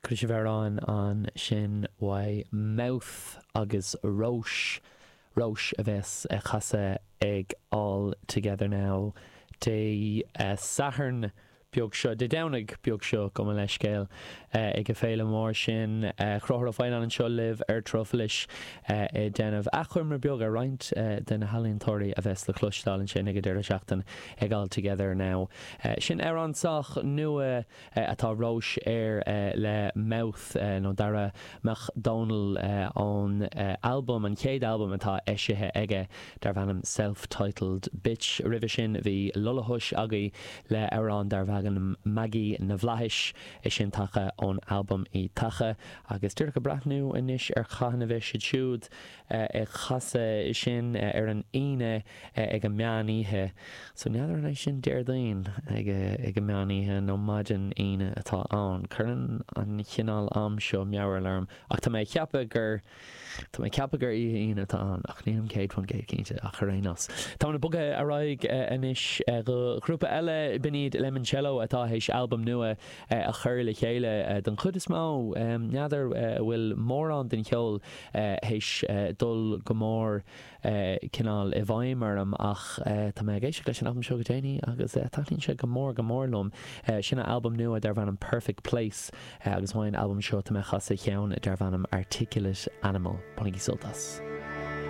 Chuala sibh amhrán ansin uaidh Mouth agus Róis, Róis a bheas ag casadh ag All Together Now Dé Sathairn beag seo, Dé Domhnaigh beag seo, gabh mo leithscéal, ag an féile mór sin. Conchúr Ó Faoláin anseo libh ar Trofalis ag déanamh achoimre beag ar roinnt de na healaíontóirí a bheas le cloisteáil ansin ag an deireadh seachtaine ag All Together Now. Sin amhrán sách nua atá Róis air le Mouth nó Dara Mac Dónaill ón albam, an chéad albam atá eisithe aige darbh ainm Self Titled Bitch. Roimhe sin bhí Lullahush agaibh le amhrán darbh ainm Maggie na bhFlaithis, é sin tagtha ón albam I dTaca. Agus díreach ag breathnú anois ar cathain a bheas siad siúd ag casadh sin ar an Aoine ag an meán oíche. So n'fheadar an é sin Déardaoin ag ag an meán oíche nó maidin Aoine atá ann. Cuireann an chineál am seo mearbhall orm ach tá mé ag ceapadh gur tá mé ag ceapadh gur oíche Aoine atá ann ach nílim 100% cinnte ach ar aon nós. Táimid ag bogadh ar aghaidh anois go ghrúpa eile, b'in iad Lemoncello atá théis albam nua a chur le chéile don chuid is mó. N'fheadar an bhfuil mórán den cheol théis dul go mór cineál i bhfeidhm orm ach tá mé ag éisteacht leis an albam seo go déanaí agus taitníonn sé go mór go mór liom. Sin an albam nua darbh ainm Perfect Place agus uaidh an albam seo tá mé ag casadh ceann darbh ainm Articulate Animal. Bainigí sult as.